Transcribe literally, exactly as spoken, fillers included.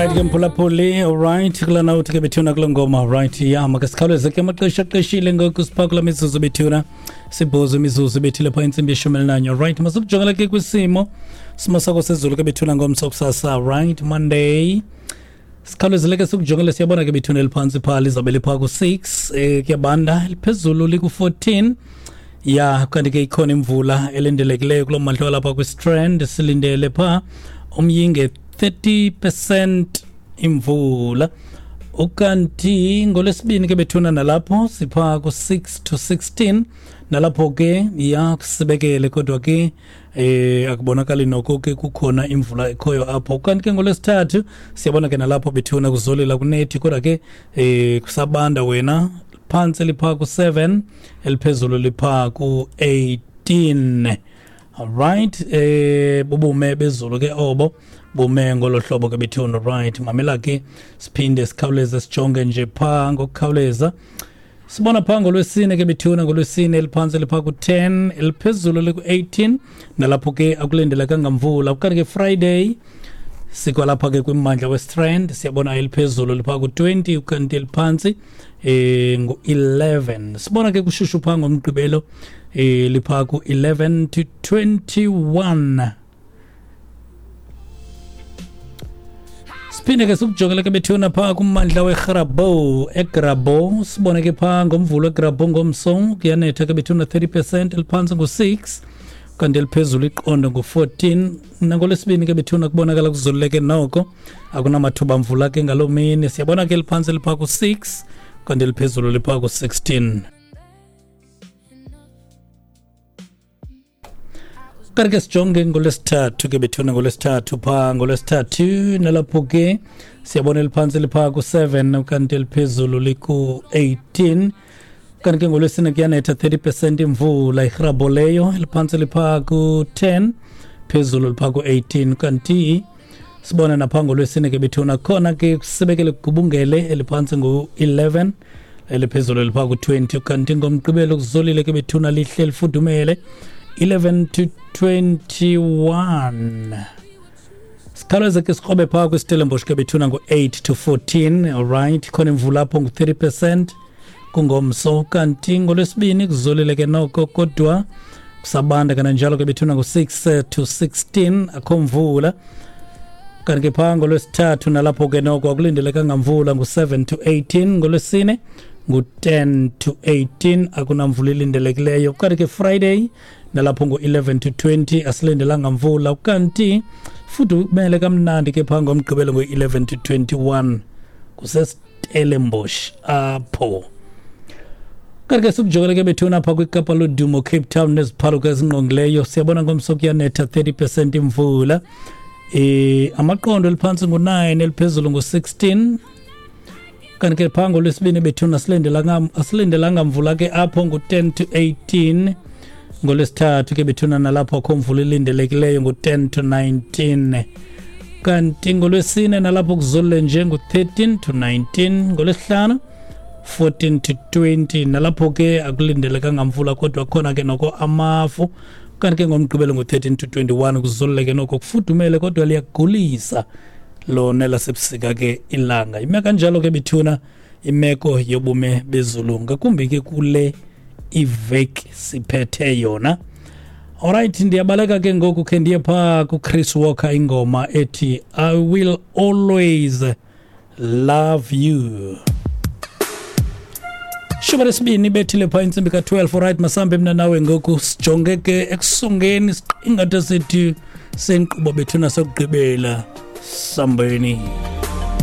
Right ke mphulaphuli, alright kulana uthi ke bethuna kule ngoma, right ya makasikhawuleze ke amaxesha axeshile ngoku sipha kula mizuzu bethuna sibhozo imizuzu bethile phaa intsimbi yeshumi elinanye. Right, masukujongela ke kwisimo simo sako sezulu ke bethuna ngomso kusasa, right Monday. Sikhawulezile ke sikujongele, siyabona ke bethuna eliphantsi phaa lizabe liphaa ku-six, eh kuyabanda, liphezulu liku-fourteen. Ya kanti ke ikhona imvula elindelekileyo kulo mmandla walapha kwiStrand, silindele phaa umyinge thirty percent imvula. Ukanti ngolwesibini ke bethuna nalapho sipha ku-six to sixteen, nalapho ke ya kusibekele kodwa ke eh akubonakali noko ke kukhona imvula ekhoyo apho. Ukanti ke ngolwesithathu siyabona ke nalapho bethuna kuzolela kunethi kodwa ke eh kusabanda wena, phantsi lipha ku-seven, eliphezulu lipha ku-eighteen. Alright, eh bubume bezulu ke obo bume ngolo hlobo ke bethuna. Right, mamela ke siphinde sikhawuleze sijonge nje phaa ngokukhawuleza. Sibona phaa ngolwesine ke bethuna, ngolwesine eliphantsi lipha ku-ten, eliphezulu liku-eighteen, nalapho ke akulindelekanga mvula. Ukanti ke Friday sikwalapha ke kwimmandla weStrand, siyabona eliphezulu lipha ku-twenty, ukanti eliphantsi eh ngu-eleven. Sibona ke kushushu phaa ngomgqibelo eh lipha ku-eleven to twenty-one. Siphinde ke sikujongele ke bethuna phaa kummandla weGrabouw, eGrabouw sibone ke phaa ngomvulo eGrabouw ngomso kuyanetha ke bethuna thirty percent, eliphantsi ngu-six, kanti eliphezulu iqondo ngu-fourteen. Nangolwesibini ke bethuna kubonakala kuzoluleke noko, akunamathuba mvula ke ngaloo mini. Siyabona ke eliphantsi liphaa ku-six, kanti eliphezulu liphaa ku-sixteen. Kanti ke sijonge ngolwesithathu ke bethuna, ngolwesithathu phaa ngolwesithathu nalapho ke siyabona eliphantsi liphaa ku-seven, kanti eliphezulu liku-eighteen. Kanti ke ngolwesine kuyanetha thirty percent imvula, iGrabouw leyo, eliphantsi liphaa ku-ten, phezulu liphaa ku-eighteen. Kanti sibona naphaa ngolwesine ke bethuna khona ke kusibekele kugubungele, eliphantsi ngu-eleven, eliphezulu liphaa ku-twenty. Kanti ngomgqibelo kuzolile ke bethuna, lihle lifudumele eleven to twenty-one. Sikhawuleze ke sikrobe phaa kwiStellenbosch ke bethuna ngu-eight to fourteen. Alright, khona imvula apho ngu-thirty percent kungomso. Kanti ngolwesibini kuzolile ke noko kodwa kusabanda kananjalo ke bethuna ngu-six to sixteen, akho mvula. Kanti ke phaa ngolwesithathu nalapho ke noko akulindelekanga mvula ngu-seven to eighteen. Ngolwesine ngu-ten to eighteen, akunamvula ilindelekileyo. Kanti ke Friday nalapho ngu-eleven to twenty, asilindelanga mvula. Kanti fudumele kamnandi ke phaa ngomgqibelo ngu-eleven to twenty-one kuseStellenbosch apho. Kanti ke sikujongele ke bethuna phaa kwiKapa lodumo, Cape Town neziphaluka ezingqongileyo, siyabona ngomso kuyanetha thirty percent imvula. Eh amaqondo eliphantsi ngu-nine, eliphezulu ngu-sixteen. Kanti ke phaa ngolwesibini bethuna asilindelanga asilindelanga mvula ke apho ngu-ten to eighteen. Ngolwesithathu ke bethuna nalapho akho mvula ilindelekileyo ngu-ten to nineteen. Kanti ngolwesine nalapho kuzolile nje ngu-thirteen to nineteen. Ngolwesihlanu fourteen to twenty, nalapho ke akulindelekanga mvula kodwa khona ke noko amafu. Kanti ke ngomgqibelo ngu-thirteen to twenty-one kuzolile ke noko kufudumele kodwa liyagulisa lona lasebusika ke ilanga. Ime kanjalo ke bethuna imeko yobume bezulu ngakumbi ke kule iveki siphethe yona. Alright, ndiyabaleka ke ngoku khe ndiye phaa kuChris Walker, ingoma ethi I Will Always Love You. Shumi lesibini bethile phaa intsimbi ka-twelve. Alright, masambe mna nawe ngoku sijonge ke ekusongeni isiqingatha sethu senkqubo bethuna sokugqibela. Sambeni.